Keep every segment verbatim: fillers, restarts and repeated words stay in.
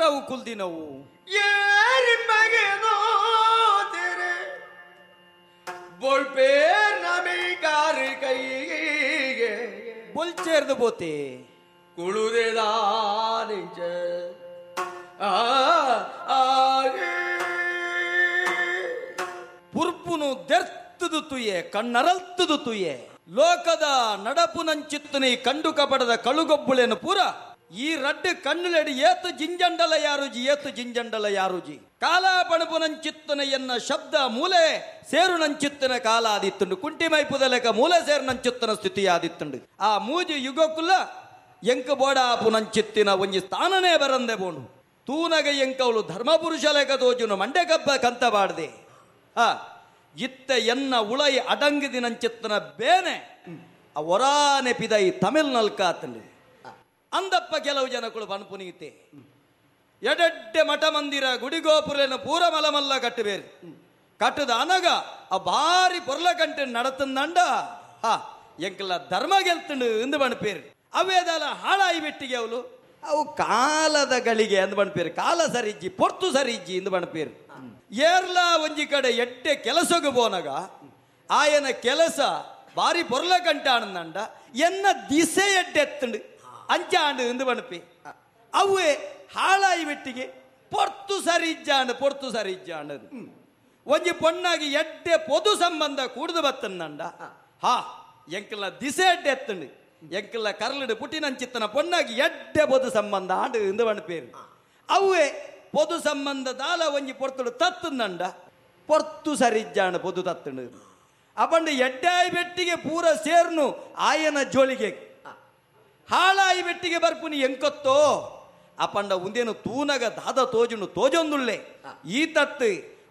ಏರವು ಕುಲ್ದಿನವು ಏರಿ ಮಗನೋ ತೆರೆ ಬೊಳ್ಪೇರ್ ನಮಿಗಾರು ಕೈಗೆ ಬೊಲ್ಚೇರ್ದು ಬೋತೆ ಕುಳುದೆದಾನಿಂಚ ಆ ಪುರ್ಪುನು ದೆರ್ತದು ತುಯೆ ಕಣ್ಣರಲ್ತದು ತುಯೆ ಲೋಕದ ನಡಪುನಂಚಿತ್ತನೆ ಕಂಡು ಕಪಡದ ಕಳುಗೊಬ್ಬುಳೆನು ಪೂರ ಈ ರಡ್ಡು ಕಣ್ಣುಲೆಡಿ ಏತು ಜಿಂಜಂಡಲ ಯಾರುಜಿ ಏತು ಜಿಂಜಂಡಲ ಯಾರುಜಿ ಕಾಲ ಪಣಪುನಂಚಿತ್ತನೆ ಎನ್ನ ಶಬ್ದ ಮೂಲೆ ಸೇರು ನಂಚಿತ್ತನ ಕಾಲ ಆದಿತ್ತುಂಡು ಕುಂಟಿ ಮೈಪುದಲೆಕ ಮೂಲೆ ಸೇರು ನಂಚಿತ್ತನ ಸ್ಥಿತಿ ಆದಿತ್ತುಂಡು ಆ ಮೂಜಿ ಯುಗಕ್ಕುಲ್ಲ ಎಂಕ ಬೋಡಾಪುನಂಚಿತ್ತಿನ ಒಂಜಿ ಸ್ಥಾನನೇ ಬರಂದೆ ಬೋನು ತೂನಗ ಎಂಕವಳು ಧರ್ಮಪುರುಷ ಲೆಕ್ಕ ತೋಜುನು ಮಂಡೆ ಕಬ್ಬ ಕಂತ ಬಾಡ್ದೆ ಆ ಇತ್ತ ಎನ್ನ ಉಳೈ ಅಡಂಗಿದಿನಂಚಿತ್ತನ ಬೇನೆ ಆ ಒರಾನೆ ಪಿದೈ ತಮಿಳ್ ನಲ್ಕಾತಂಡು ಅಂದಪ್ಪ ಕೆಲವು ಜನಗಳು ಪನ್ಪುನೀತೆ ಎಡೆಡ್ಡೆ ಮಠ ಮಂದಿರ ಗುಡಿಗೋಪುರನ ಪೂರ ಮಲಮಲ್ಲ ಕಟ್ಟಬೇರು ಕಟ್ಟದ ಅನಗ ಆ ಬಾರಿ ಪೊರ್ಲ ಕಂಟೆ ನಡತಂದಂಡ ಹಾ ಎಂಕಲ್ಲ ಧರ್ಮ ಗೆಲ್ತಂಡು ಇಂದು ಬಣಪೇರು ಅವೇದಲ್ಲ ಹಾಳಾಯಿ ಬಿಟ್ಟಿಗೆ ಅವಳು ಅವು ಕಾಲದ ಗಳಿಗೆ ಅಂದ್ ಬಣಪೇರು ಕಾಲ ಸರಿಜ್ಜಿ ಪೊರ್ತು ಸರಿಜ್ಜಿ ಇಂದು ಬಣಪೇರು ಏರ್ಲಾ ಒಂಜಿ ಕಡೆ ಎಡ್ಡೆ ಕೆಲಸಗೆ ಪೋನಗ ಆಯನ ಕೆಲಸ ಬಾರಿ ಪೊರ್ಲ ಕಂಟ ಆನಂದಂಡ ಎನ್ನ ದಿಸೆ ಎಡ್ಡೆ ಎತ್ತಂಡು ಅಂಚಾಂಡು ಇಂದು ಬಣಪಿ ಅವೇ ಹಾಳಾಯಿ ಬಿಟ್ಟಿಗೆ ಪೊರ್ತು ಸರಿಜ್ಜಾಂಡು ಪೊರ್ತು ಸರಿಜ್ಜಾಂಡು ಒಂಜಿ ಪೊಣ್ಣಾಗಿ ಎಡ್ಡೆ ಪೊದು ಸಂಬಂಧ ಕೂಡುದು ಬತ್ತಂದಂಡ ಹಾ ಎಂಕಲ್ಲ ದಿಸೆ ಎಡ್ಡೆ ಎತ್ತಂಡು ಎಂಕಲ್ಲ ಕರ್ಲಡು ಪುಟಿನಂಚಿತ್ತನ ಪೊಣ್ಣಾಗಿ ಎಡ್ಡೆ ಪೊದು ಸಂಬಂಧ ಆಂಡು ಇಂದು ಬಣಪೇರು ಅವೇ ಪೊದು ಸಂಬಂಧ ದಾಲ ಒಂಜಿ ಪೊರ್ತುಡು ತತ್ತಂದಂಡ ಪೊರ್ತು ಸರಿಜ್ಜಾಂಡು ಪೊದು ತತ್ತಂಡು ಅಪಂಡು ಎಡ್ಡಾಯಿ ಬೆಟ್ಟಿಗೆ ಪೂರ ಸೇರ್ನು ಆಯನ ಜೋಳಿಗೆ ಹಾಳಾಯಿ ಬೆಟ್ಟಿಗೆ ಬರ್ಪುನಿ ಎಂಕೊತ್ತೋ ಅಪಂಡ ಉಂದೇನು ತೂನಗ ದಾದ ತೋಜುನು ತೋಜೊಂದುಳ್ಳೆ ಈ ತತ್ತು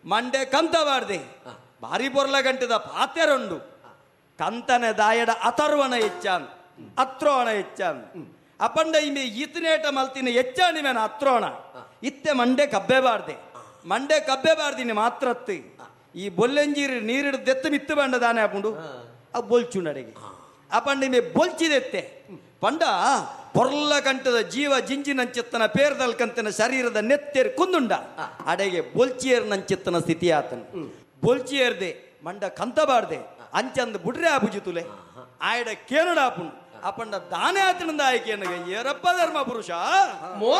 ಮಂಡೆ ಕಂತ ಬಾರ್ದೆ ಭಾರಿ ಪೊರ್ಲ ಗಂಟದ ಪಾತೆರೊಂಡು ಕಂತನೆ ದಾಯಡ ಅಥರ್ವಣ ಹೆಚ್ಚಾನ್ ಅತ್ರೋಣ ಹೆಚ್ಚಾನ್ ಅಪಂಡ ಇಮೆ ಈತನೇಟ ಮಲ್ತಿನ ಹೆಚ್ಚಾಣಿ ಮೇನ ಅತ್ರೋಣ ಇತ್ತೆ ಮಂಡೆ ಕಬ್ಬೆ ಬಾರ್ದೆ ಮಂಡೆ ಕಬ್ಬೆ ಬಾರ್ದಿನಿ ಮಾತ್ರತ್ತು ಈ ಬೊಲ್ಲೆಂಜೀರು ನೀರಿಡು ದೆತ್ತು ಮಿತ್ತು ಬಂಡ ದಾನೆ ಅಪುಂಡು ಅವು ಬೊಲ್ಚುಂಡಡೆಗೆ ಅಪಂಡ ಇಮೆ ಬೊಲ್ಚಿದೆತ್ತೆ ಪಂಡ ಪೊರ್ಲ ಕಂಠದ ಜೀವ ಜಿಂಜಿನಂಚಿತ್ತನ ಪೇರ್ದಲ್ಕಂತನ ಶರೀರದ ನೆತ್ತೆರ್ ಕುಂದುಂಡ ಅಡೆಗೆ ಬೊಲ್ಚಿಯರ್ ನಂಚಿತ್ತನ ಸ್ಥಿತಿ ಆತನು ಬೊಲ್ಚಿಯರ್ದೆ ಮಂಡ ಕಂತಬಾರ್ದೆ ಅಂಚಂದು ಬುಡ್ರೆ ಆಪುಜಿ ತುಲೆ ಆಯಡ ಕೇನಡ ಆಪುಂಡು ಅಪಂಡ ದಾನೆ ಆತನಂದ ಆಯ್ಕೆ ಏರಪ್ಪ ಧರ್ಮ ಪುರುಷ ಮೋ